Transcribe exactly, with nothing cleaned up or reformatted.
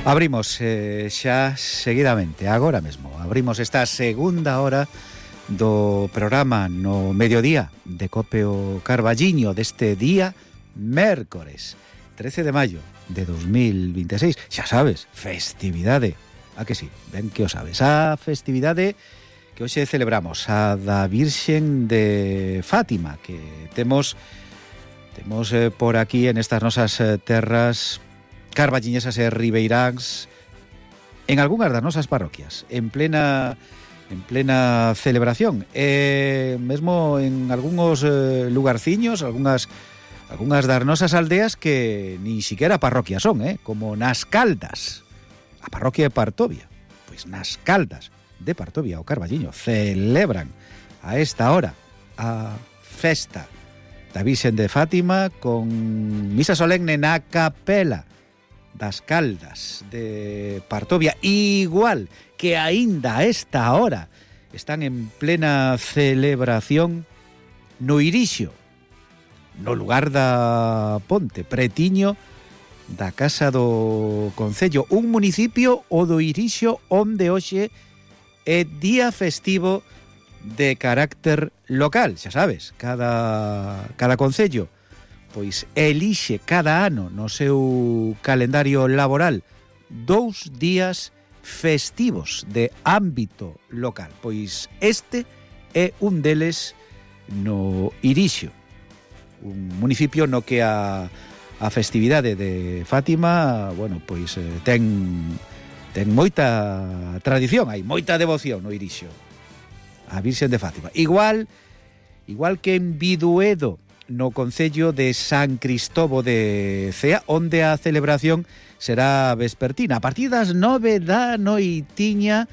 Abrimos eh, xa seguidamente, agora mesmo, abrimos esta segunda hora do programa no mediodía de Cope o Carballiño deste día mércores trece de maio de dos mil vinte e seis. Xa sabes, festividade, a que sí, ben que o sabes, a festividade que hoxe celebramos, a da Virxen de Fátima, que temos temos eh, por aquí en estas nosas eh, terras carballiñesas e ribeiráns, en algunhas das nosas parroquias, en plena en plena celebración, e mesmo en algúns eh, lugarciños, algunhas algunhas das nosas aldeas que nin siquiera parroquias son, eh, como nas Caldas, a parroquia de Partovia. Pois nas Caldas de Partovia, o Carballiño, celebran a esta hora a festa da Virxen de Fátima con misa solemne na capela das Caldas de Partovia, igual que aínda a esta hora están en plena celebración no Irixo, no lugar da Ponte, pretiño da Casa do Concello, un municipio, o do Irixo, onde hoxe é día festivo de carácter local. Xa sabes, cada, cada concello pois elixe cada ano no seu calendario laboral dous días festivos de ámbito local. Pois este é un deles no Irixo, un municipio no que a, a festividade de Fátima, bueno, pois eh, ten ten moita tradición, hai moita devoción no Irixo a Virxen de Fátima. Igual igual que en Biduedo, no concello de San Cristobo de Cea, onde a celebración será vespertina. A partir das nove da noitiña